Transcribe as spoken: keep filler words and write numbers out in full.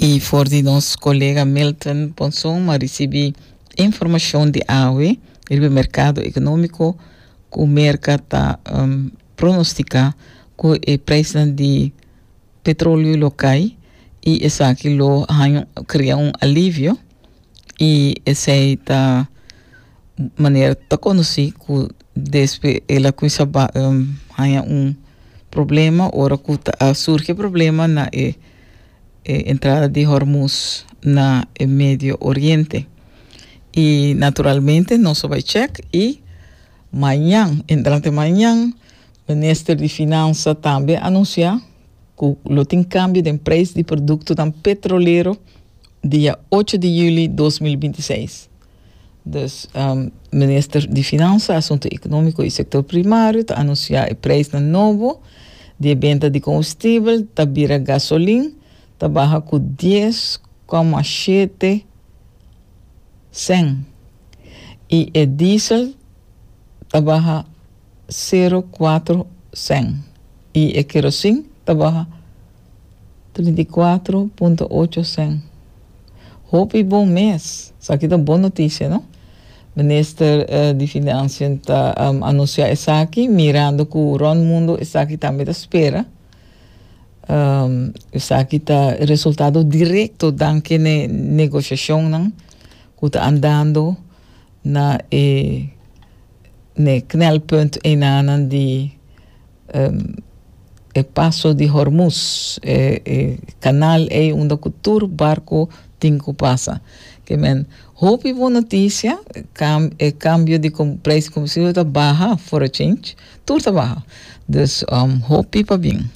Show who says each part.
Speaker 1: I for di nos kolega Milton Ponson m'a risibí informashon di awe riba merkado ekonómiko ku Merka ta um, pronostiká ku e preis di petroleo lo kai i esaki lo krea un alivio i esei ta manera ta konosí ku despues el a kuminsá um, un problema ora ku surgi problema na e, e entrada di Hormuz na Medio Oriente. I naturalmente nos bai check i mañan, entrante mañan, minister di Finansa tambe a anunsiá ku lo tin kambio di preis di produkto petrolero dia ocho di yüli di dos mil bintiseis. Dus um, minister di Finansa, Asuntu Ekonómiko i Sektor Primario ta anunsiá e preis nobo di benta di kombustibel, ta bira gasolin, ta baha ku dies koma shete sèn. I e diesel ta baha zero koma kuater sèn. I e kerosin ta baha trinta i kuater punto ocho sèn. Hopi bon mes. Esaki ta bon notisia, no? Minister uh, di Finansa ta um, anunsiá esaki, mirando ku rònt mundu esaki tambe ta spera. Um, esaki ta resultado direkto danki na negoshashon ku ta andando na e ne knelpunt einan di um, e paso di Hormuz, e, e kanal ei unda ku tur barku tin ku pasa. Ke men, hopi bon notisia, kam, e kambio di preis di kombustibel ta baha for a change, tur ta baha. Dus um, hopi pabien.